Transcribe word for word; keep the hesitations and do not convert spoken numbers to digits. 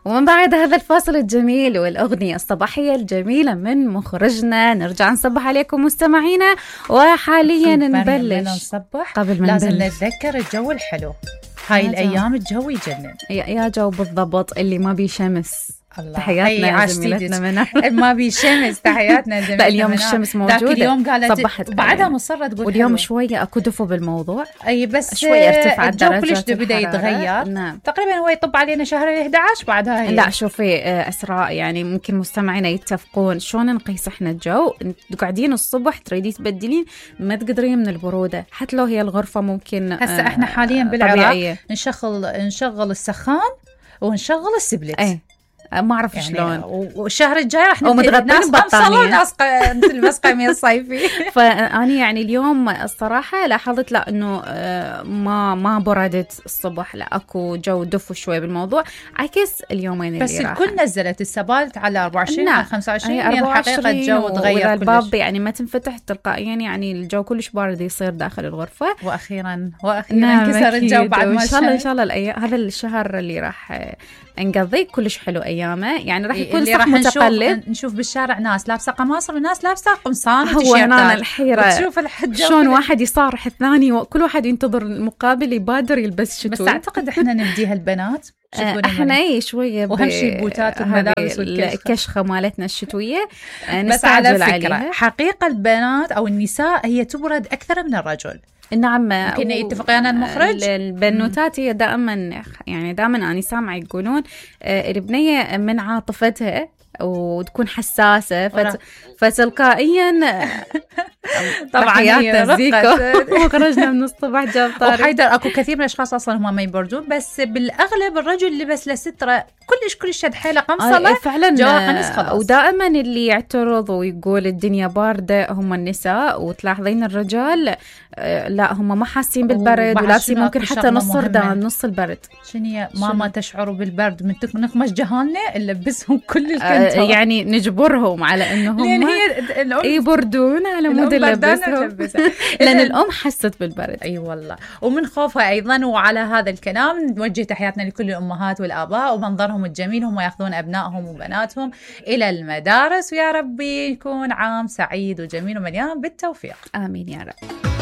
ومن بعد هذا الفاصل الجميل والأغنية الصباحية الجميلة من مخرجنا نرجع نصبح عليكم مستمعينا. وحاليا نبلش نصبح قبل ما لازم نبلش نتذكر الجو الحلو. هاي الأيام الجو يجنن يا جو بالضبط اللي ما بي شمس. تحياتنا لزميلتنا منى. ما بي شمس تحياتنا لزميلتنا. اليوم الشمس موجودة. ذاك اليوم قالت صبحت بعدها مصرة تقول واليوم حلوة. شوية أكو دفو بالموضوع. أي بس شوية ارتفعت الجو درجات كلش بدأ يتغير. نعم. تقريبا هو يطب علينا شهر إحدى عشر بعدها هي. لا شوفي أسراء يعني ممكن مستمعينا يتفقون شلون نقيس إحنا الجو. قاعدين الصبح تريدي تبدلين ما تقدرين من البرودة حتى لو هي الغرفة ممكن. هسه إحنا حاليا بالعراق نشغل نشغل السخان ونشغل السبلت. أيه. ما أعرف يعني شلون. والشهر الجاي راح نبدأ ناس بطانية ناس نلبس قميص صيفي. فأنا يعني اليوم الصراحة لاحظت لا إنه ما ما بردت الصبح لا أكو جو دفو شوي بالموضوع عكس اليومين اللي بس راح. الكل نزلت السبالت على أربعة وعشرين على خمسة وعشرين يعني حقيقة الجو تغير الباب كلش. يعني ما تنفتح تلقائيا يعني الجو كلش بارد يصير داخل الغرفة. وأخيرا وأخيرا كسر الجو بعد ما إن شاء الله إن شاء الله الأيام هذا الشهر اللي راح نقضي كلش حلو أيامه يعني راح يكون صح متقلب. نشوف, نشوف بالشارع ناس لابسة قماصر وناس لابسة قمصان هو هنا الحيرة تشوف الحجة شلون واحد يصارح الثاني وكل واحد ينتظر المقابل يبادر يلبس شتوي. بس أعتقد إحنا نبديها البنات احنا اي شويه وهم شيء بوتات وملابس الكشخه مالتنا الشتويه. بس على فكره عليها. حقيقه البنات او النساء هي تبرد اكثر من الرجل. نعم يمكن يتفقين المخرج. البنوتات هي دائما يعني دائما انا سامعه يقولون البنيه من عاطفتها وتكون حساسة فت... فتلقائيا طبعا وخرجنا من الصبح جاب طارق وحيدر اكو كثير من الاشخاص اصلا هم ما يبردون بس بالاغلب الرجل لبس له ستره كلش كلش شد حيله قمصله آه فعلا جوا قميص خلاص. ودائما اللي يعترض ويقول الدنيا بارده هم النساء وتلاحظين الرجال آه لا هم ما حاسين بالبرد ولابسين ممكن حتى نص ردان نص البرد. شنو ماما تشعر بالبرد من نقمش جهالنا نلبسهم كل الكنت آه يعني نجبرهم على انهم يبردون على مود نلبسهم لان الام حست بالبرد. اي أيوة والله ومن خوفها ايضا. وعلى هذا الكلام نوجه تحياتنا لكل الامهات والاباء ومنظرهم الجميل هم ياخذون ابنائهم وبناتهم الى المدارس ويا ربي يكون عام سعيد وجميل ومليان بالتوفيق. امين يا رب.